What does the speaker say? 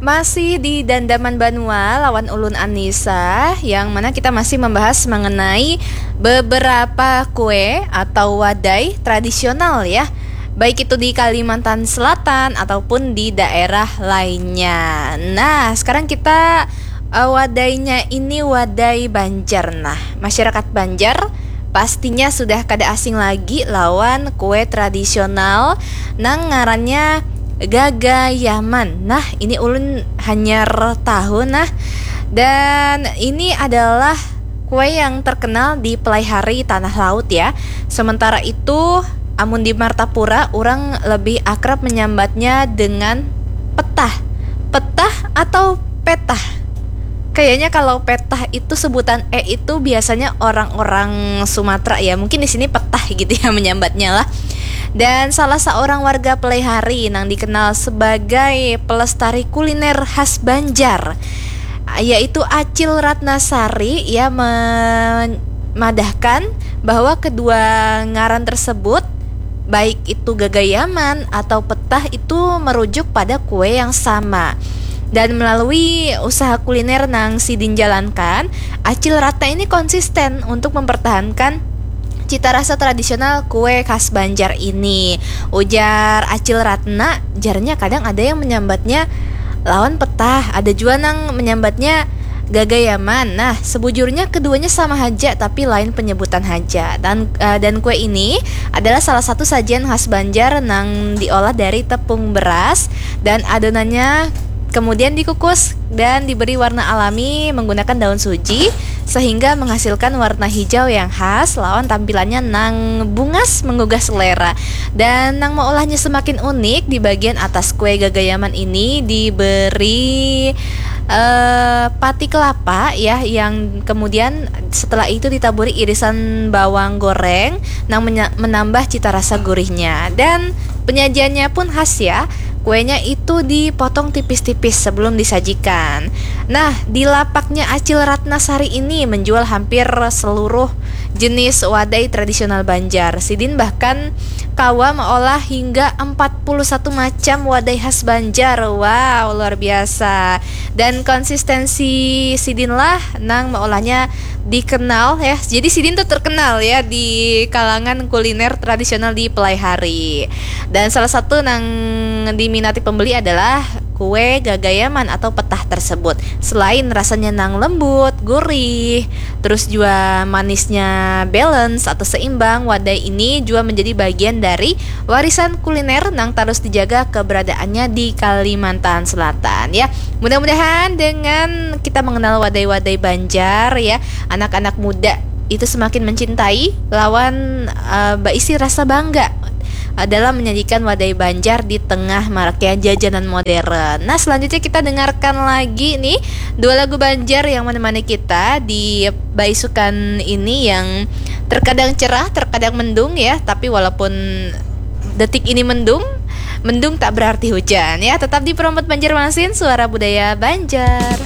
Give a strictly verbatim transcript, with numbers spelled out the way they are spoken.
Masih di Dandaman Banua lawan ulun Anisa, yang mana kita masih membahas mengenai beberapa kue atau wadai tradisional ya, baik itu di Kalimantan Selatan ataupun di daerah lainnya. Nah, sekarang kita, eh, wadainya ini wadai Banjar. Nah, masyarakat Banjar pastinya sudah kada asing lagi lawan kue tradisional nang ngarannya gagayaman. Nah, ini ulun hanyar tahu nah. Dan ini adalah kue yang terkenal di Pelaihari Tanah Laut ya. Sementara itu, amun di Martapura, orang lebih akrab menyambatnya dengan petah. Petah atau petah? Kayaknya kalau petah itu sebutan e itu biasanya orang-orang Sumatera ya. Mungkin di sini petah gitu ya menyambatnya lah. Dan salah seorang warga Pelaihari yang dikenal sebagai pelestari kuliner khas Banjar, yaitu Acil Ratnasari, ia memadahkan bahwa kedua ngaran tersebut, baik itu gagayaman atau petah, itu merujuk pada kue yang sama. Dan melalui usaha kuliner nang sidin jalankan, Acil Ratna ini konsisten untuk mempertahankan cita rasa tradisional kue khas Banjar ini. Ujar Acil Ratna, jarnya kadang ada yang menyambatnya lawan petah, ada jua nang menyambatnya gagayaman. Nah, sebujurnya keduanya sama haja tapi lain penyebutan haja. Dan, eh, dan kue ini adalah salah satu sajian khas Banjar nang diolah dari tepung beras dan adonannya kemudian dikukus dan diberi warna alami menggunakan daun suji, sehingga menghasilkan warna hijau yang khas lawan tampilannya nang bungas menggugah selera. Dan nang meolahnya semakin unik, di bagian atas kue gagayaman ini diberi, eh, pati kelapa ya, yang kemudian setelah itu ditaburi irisan bawang goreng nang menya- menambah cita rasa gurihnya. Dan penyajiannya pun khas ya. Kuenya itu dipotong tipis-tipis sebelum disajikan. Nah, di lapaknya Acil Ratnasari ini menjual hampir seluruh jenis wadai tradisional Banjar. Sidin bahkan kawa meolah hingga empat puluh satu macam wadai khas Banjar. Wow, luar biasa. Dan konsistensi sidin lah nang meolahnya dikenal ya. Jadi sidin tuh terkenal ya di kalangan kuliner tradisional di Pelaihari. Dan salah satu nang diminati pembeli adalah kue gagayaman atau petah tersebut. Selain rasanya nang lembut, gurih, terus juga manisnya balance atau seimbang, wadai ini juga menjadi bagian dari warisan kuliner nang terus dijaga keberadaannya di Kalimantan Selatan ya. Mudah-mudahan dengan kita mengenal wadai-wadai Banjar ya, anak-anak muda itu semakin mencintai lawan, eh, baisi rasa bangga dalam menyajikan wadai Banjar di tengah maraknya jajanan modern. Nah, selanjutnya kita dengarkan lagi nih dua lagu Banjar yang menemani kita di baisukan ini yang terkadang cerah, terkadang mendung ya, tapi walaupun detik ini mendung, mendung tak berarti hujan ya. Tetap di Perompat Banjarmasin, suara budaya Banjar.